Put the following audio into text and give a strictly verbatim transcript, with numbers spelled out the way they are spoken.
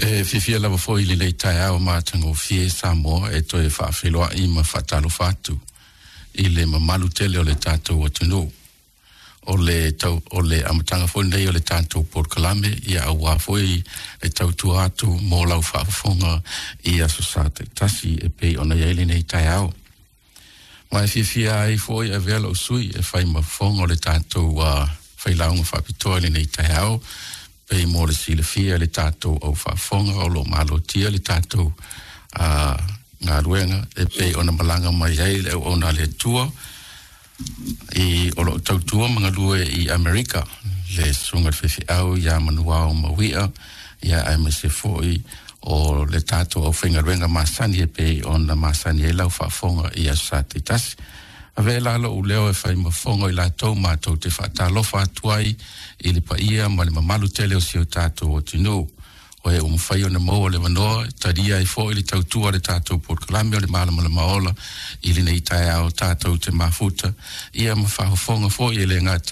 E fiafia lava foi i lenei taeao matagofie Samoa e toe faafeiloai ma faatalofa atu i le mamalu tele o le tatou atunuu. O le, tau, o le amataga foi nei o le tatou polokalame ia auā foi le tautua atu mo lau faafofoga i aso Sa taitasi e pei ona i ai lenei taeao. Ma e fiafia ai foi e avea lou sui e fai ma fofoga o le tatou uh, failauga faapitoa i lenei taeao pei mo le silafia le tatou au faafofoga o lo o malotia le tatou uh, galuega e pei ona malaga mai ai le auauna a le Atua i o lo o tautua ma galue i Amerika le susuga i le faifeau ia Manuao Mauia ia aemaise foi o le tatou aufaigaluega masani e pei ona masani ai lau faafofoga i aso Sa taitasi. Avea la lou leo e fai ma fofoga o i latou matou te faatalofa atu ai i le paia ma le mamalu tele o si o tatou atunuu. O e ua mafai ona maua le avanoa e talia ai foi le tautua a le tatou polokalame o le Malamalama Ola i lenei taeao tatou te mafuta ia ma faafofoga foi e le gata